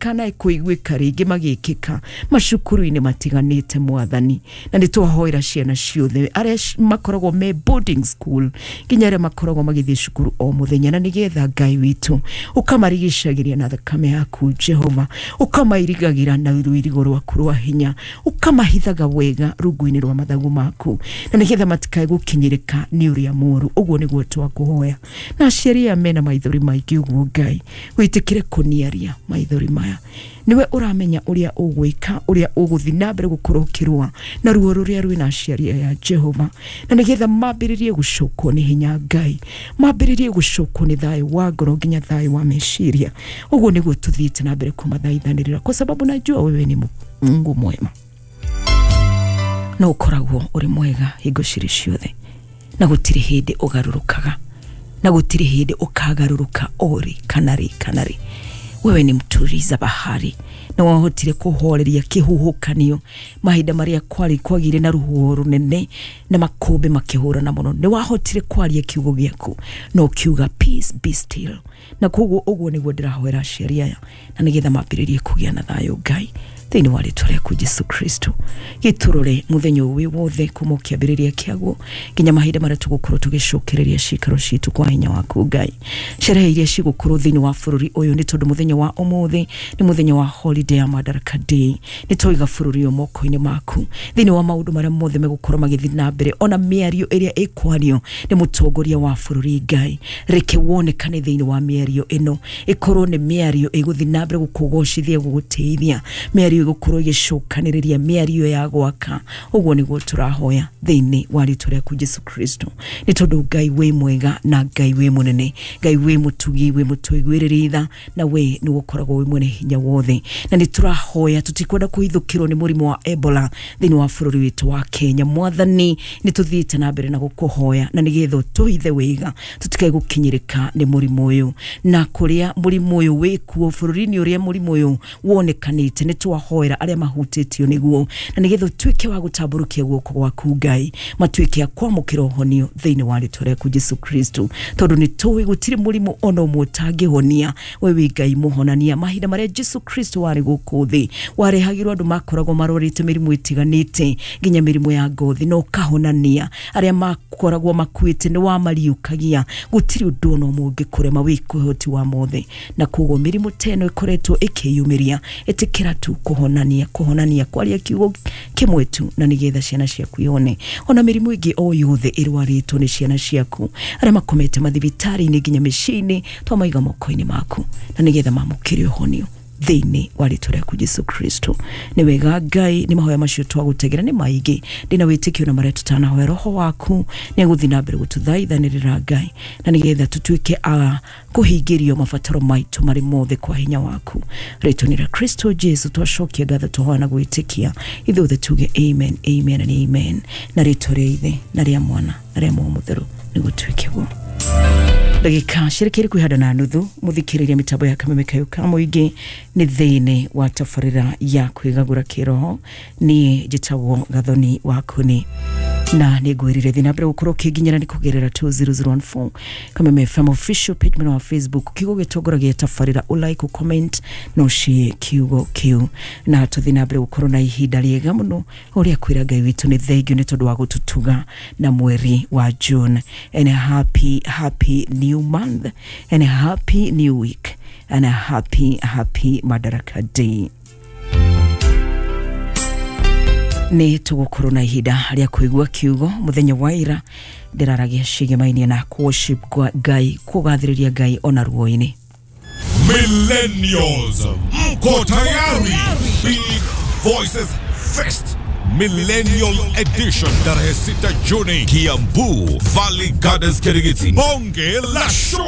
Kana ĩkũiguĩka rĩngĩ magĩkĩka macukuru-inĩ matiganĩte mwathani, na nĩ twahoera ciana ciothe arĩa makoragwo me boarding school nginya arĩa makoragwo magĩthiĩ cukuru o mũthenya, na nĩgetha Ngai witũ ũkamarigicagĩria na thakame yaku Jehova, ũkamairigagĩra na rũirigo rwaku rwa hinya, ũkamahithaga wega rungu-inĩ rwa mathagu maku, na nĩgetha matikae gũkinyĩrĩka nĩ ũrĩa mũũru. Ũguo nĩguo twakũhoya. Na aciari aya mena maithori maingĩ ũguo Ngai wĩtĩkĩre kũniaria maithori maya. Niwe ũramenya ũrĩa ũgwĩka, ũrĩa ũgũthiĩ na mbere gũkorwo ũkĩrũa na ruo rũrĩa rwĩna aciari aya Jehova, na nĩgetha mambĩrĩrie gũcokwo nĩ hinya Ngai, mambĩrĩrie gũcokwo nĩ thayũ wa ngoro nginya thayũ wa meciria. Ũguo nĩguo tũthiĩte na mbere kũmathaithanĩrĩra, kwa sababu najua wewe ni Mungu mwema na ũkoragwo ũrĩ mwega hingo cirĩ ciothe, na gũtirĩ hĩndĩ ũgarũrũkaga, na gũtirĩ hĩndĩ ũkagarũrũka orĩ kana rĩ kana rĩ. Wewe ni mtuliza bahari na wahotire kuhoreria kihuhukanio mahinda maria kwari kwagire na ruhuho runene na makumbi makihurana muno. Ni wahotire kwaria kiugo giaku na ukiuga peace be still, na koguo uguo niguo ndirahoera aciari aya na nigetha mambiririe kugia na thayo Ngai thĩinĩ wa rĩtwa rĩaku Jesu Kristo. Gĩtũrore mũthenya ũyũ wothe kuma kĩambĩrĩria kĩaguo nginya mahinda marĩa tũgũkorwo tũgĩcokereria ciikaro citũ kwa hinya waku Ngai. Sherehe iria cigũkorwo thĩinĩ wa bũrũri ũyũ, nĩ tondũ mũthenya wa ũmũthĩ nĩ mũthenya wa holiday ya Madaraka Day, nĩ twaiga bũrũri ũyũ moko-inĩ maku thĩinĩ wa maũndũ marĩa mothe megũkorwo magĩthiĩ na mbere, ona mĩario ĩrĩa ĩkwario nĩ mũtongoria wa bũrũri Ngai, reke wonekane thĩinĩ wa mĩario ĩno, ĩkorwo nĩ mĩario ĩgũthiĩ na mbere gũkũgocithia, gũgũtĩithia, mĩario ĩgũkorwo ĩgĩcokanĩrĩria, mĩario ya gwaka. Ũguo nĩguo tũrahoya thĩinĩ wa rĩtwa rĩaku Jesu Kristo, nĩ tondũ Ngai wĩ mwega na Ngai wĩ mũnene, Ngai wĩ mũtugi, wĩ mũtũiguĩrĩri tha, na we nĩ ũkoragwo wĩ mwene hinya wothe. Na nĩ tũrahoya tũtikwenda kũhithũkĩrwo nĩ mũrimũ wa Ebola thĩinĩ wa bũrũri witũ wa Kenya. Mwathani, nĩ tũthiĩte na mbere na gũkũhoya na nĩgetha ũtũhithe wega tũtikae gũkinyĩrĩka nĩ mũrimũ ũyũ, na kũrĩa mũrimũ ũyũ wĩkuo bũrũri-inĩ ũrĩa mũrimũ ũyũ wonekanĩte, nĩ twahoera arĩa mahutĩtio nĩguo, na nĩgetha ũtuĩke wa gũtambũrũkia guoko gwaku Ngai, matuĩke a kwamũkĩra ũhonio thĩinĩ wa rĩtwa rĩaku Jesu Kristo, tondũ nĩ tũĩ gũtirĩ mũrimũ ona ũmwe ũtangĩhonia. We wĩ Ngai mũhonania. Mahinda marĩa Jesu Kristo warĩ gũkũ thĩ, warehagĩrwo andũ makoragwo marwarĩte mĩrimũ ĩtiganĩte nginya mĩrimũ ya ngothi, na ũkahonania arĩa makoragwo makuĩte, nĩ wamariũkagia. Gũtirĩ ũndũ ona ũmwe ũngĩkũrema, wĩ ũhoti wa mothe, na koguo mĩrimũ ta ĩno ĩkoretwo ĩkĩyumĩria, ĩtĩkĩra tu kũhonania, kũhonania, kwaria kiugo kĩmwe tu, na nĩgetha ciana ciaku ihone. Ona mĩrimũ ĩngĩ o yothe ĩrwarĩtwo nĩ ciana ciaku, arĩa makomete mathibitarĩ-inĩ nginya mĩciĩ-inĩ, twamaiga moko-inĩ maku na nĩgetha mamũkĩre ũhonio thĩinĩ wa rĩtwa rĩaku Jesu Kristo. Nĩ wega Ngai, nĩ mahoya macio twagũtegera nĩ maingĩ, ndĩna wĩtĩkio na marĩa tũtanahoya, roho waku nĩ egũthiĩ na mbere gũtũthaithanĩrĩra Ngai, na nĩgetha tũtuĩke a kũhingĩrio mabataro maitũ marĩ mothe kwa hinya waku. Rĩtwa-inĩ rĩa Kristo Jesu twacokia ngatho, tũhoya na gwĩtĩkia, ithuothe tuge amen, amen and amen. Na rĩtwa rĩa Ithe na rĩa Mwana na rĩa Muoyo Mũtheru nĩguo tuĩke guo. Ndagĩka cirekeire kwĩhanda na nuthu, mũthikĩrĩria mĩtambo ya Kameme Kayũ ka mũingĩ nĩ thĩinĩ wa tabarĩra ya kwĩgagũra kĩroho. Niĩ njĩtagwo Gathoni wa Kuni, na nĩ ngwĩrire thĩ na mbere gũkorwo ũkĩnginyĩra nĩ kũgerera 2014 Kameme FM official page mwena wa Facebook, kiugo gĩtongoragia tabarĩra, ũlike, ũcomment na ũshare kiugo kĩu, na tũthiĩ na mbere gũkorwo na ihinda rĩega mũno ũrĩa kwĩra Ngai witũ nĩ thengiũ nĩ tondũ wa gũtũtuga na mweri wa June. And a happy, happy new month and a happy new week and a happy, happy Madaraka Day. Nĩ tũgũkorwo na ihinda rĩa kũigua kiugo. Mũthenya wa ira ndĩraragia cigemainie na worship Ngai, kũgathĩrĩria Ngai ona ruo-inĩ. Millennials, mko tayari? Big Voices Fest Millennial Edition, tarehe 6 Juni, Kiambu, Valley Gardens, Kirigiti. Bonge la show.